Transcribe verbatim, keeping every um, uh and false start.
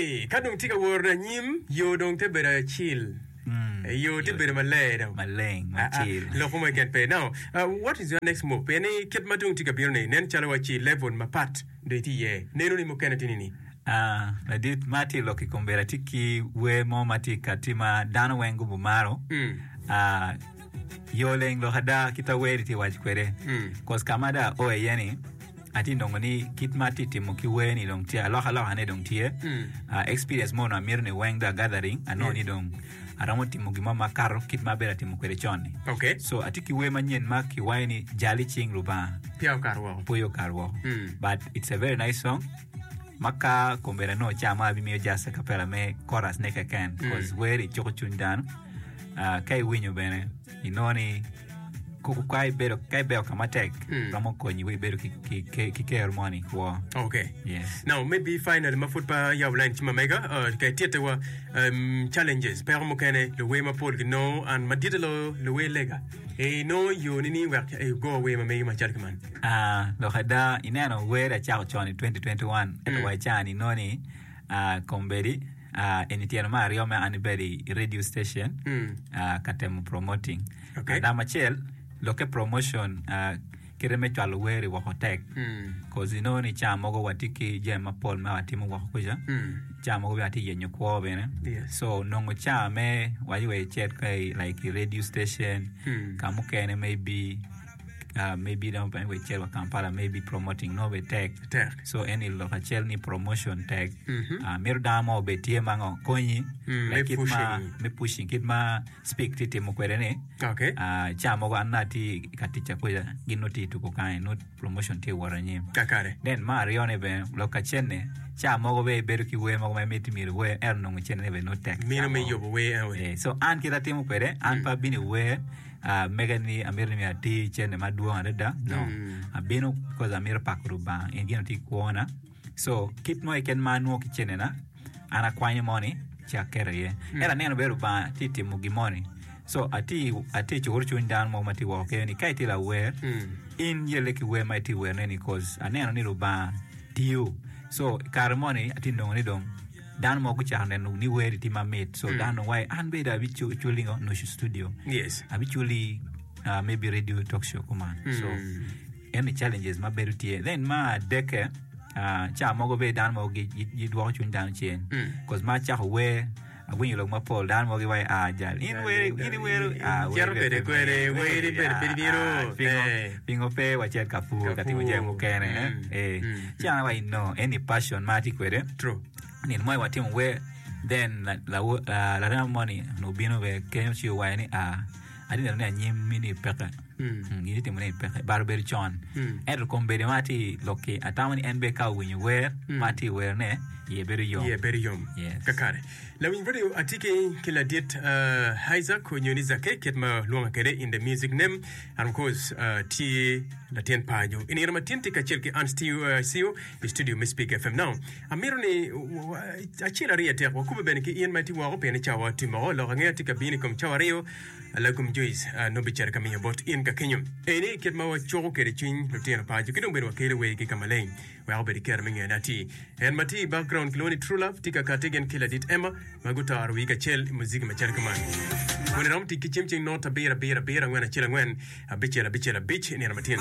Okay, ka dong tye ka woro anyim, yo dong te bedo acil. Yo te bedo maler dong. Maleng, Ah, ah, macil. lok mo keken pe. Now, uh, what is your next move? Pien ni kit ma dong tye ka bino ni, nen calo waci level mapat dong itye iye. Neno ni mukene tye ni ni. Ah, ladit ma atye lok i kom bedo atye ki wer mo ma tye ka tye ma dano weng gubo maro. Mm. Ah, yo leng lok ada kit ma wer tye waco kwede. Mm. Cause ka ma dong ao iye ni atye nongo ni kit ma atye timo ki wer ni dong tye alokaloka-ne dong tye. Mm. Ah, experience mo onongo amito ni weng dong gathering anongo ni dong aromo timo gin mo makato kit ma abedo atimo kwede con-ni. Okay. So atye ki wer manyen ma kiwaco ni jal i cing Lubanga. Peya okato woko. Pwoyo okato woko. Mm. But it's a very nice song. Ma ka kombeddi anongo ca mo abimiyo just a cappella me chorus ne keken. Cause wer cuko cwiny dano. Ah, ka iwinyo bene inongo ni kuku ka ibedo ka ibedo ka matek Mm. romo konyi wek ibedo ki, ki, ki, ki kero moni i kwo. Okay. Yes. Now, maybe finally ma pud pa yabo line ci ma mega, uh, ka ititte wa um, challenges, peko mukene, luwer mapol ginongo, an madit loyo luwer lega. E inongo yo ni ni wek e go wer ma megi macalo ki man. Ah, lok ada ineno wer acako con i twenty twenty-one ento Mm. wa i caa ni inongo ni ah, kombeddi ah, eni tyeno me aryo me an ibedo i radio station Mm. ah, ka temo promoting. Okay. Namba acel lokke promotion ah, kite me cwalo wer i woko tek. Mm. Cause inongo ni ca mogo watye ki jami mapol ma watimo woko kuca. Mm. Ca mogo bene atye yenyo kwo bene. Yes. So nongo ca me waci wek icit ka i like i radio station Mm. ka mukene maybe uh, maybe dong wek icit wa Kampala maybe promoting nongo bene tek. Tek. So eni lok acel ni promotion tek. Mhm. Uh, mito dano mo obed tye ma ngo konyi Mm, like me kit ma pushing. me pushing kit ma speak tye timo kwede ni. Okay. Uh, ca mogo an atye ka tic akuca gin nongo tye tuko kany nongo promotion tye wot anyim. Kakare. Then mar aryo ne bene lok acel-ni ca mogo bene ibedo ki wer mogo ma imito myero iwer ento nongo cene bene nongo tek. Mino Ca me mogo. yubo wer eno. Eh, so an kit atimo kwede an pe abino i wer uh, mege ni amito ni myero ati cene madwong adada no. Mm. Abino because amito pako Lubanga en gin tye i kwona. So kit mo keken ma anwongo ki cenena an akwanyo moni ci aketo iye. Ento aneno bene Lubanga tye timo gin moni. So atye atye cukuru cwiny dano mo ma tye woko kenyo ni ka itye lawer Mm. in yelle ki wer ma itye werone ni cause aneno ni Lubanga tiyo. So i kare moni atye nongo ni dong dano mogo gucako neno ni wer tye mamit. So dano dong waci an bene abiculi ngo nucu studio. Yes. Abiculi uh, maybe radio talk show kuman. So Mm. eni challenges ma bedo tye. Then ma adeke uh, ca mogo bene dano mogo gi- gi- gidwoko cwiny dano cen. Mm. Cause ma acako wer awinyo lok mapol dano mogo giwaco ah jal in wer in iwero ah wer Cito kwede kwede, wer ibedo piny bino. ah, pingo Eh. pingo pe wacit ka pur ka timo jami mukene eh? Mm. Eh. Mm. Ci an awaco no eni passion ma atye kwede True. nino mo watimo wer then la- lawo- la- larema moni onongo obino bene kenyo ci owaco ni ah atye neno ni anyim mini peke. Mm. Mm, gin itimo ni peke but obedo con Mm. ento kombeddi ma atye lokki atamo ni en bene ka owinyo wer ma atye werone iye bedo yom. Iye bedo yom. Yes. Kakare. Lawiny radio atye ki ki ladit uh, Isaac onyo ni Zake kit ma lwonga kwede in the music name and of course uh, tye latin pajo. I nino matin tye kacel ki Ann Stew, uh, C E O i studio me Speak F M. Now, amito ni w- w- acel aryo adek wakube bene ki in ma itye woko pien ni cawa timo oko lok angeya tye ka bino i kom cawa aryo lagum Joyce uh, nongo bicito ka miyo bot in ka kenyo. Eni kit ma wacuko kwede cwiny lutino paco ki dong bene wakelo wergi ka maleng wek obed kero me ngene atir. En ma tye i background kilwongo ni True Love tye ka kati gin ki ladit Emma ma gutoro wigi kacel i muziki macalo kuman. Kun iromo tic ki cim cing not abiro abiro abiro angwen acel angwen abicel abicel abic i nino matin.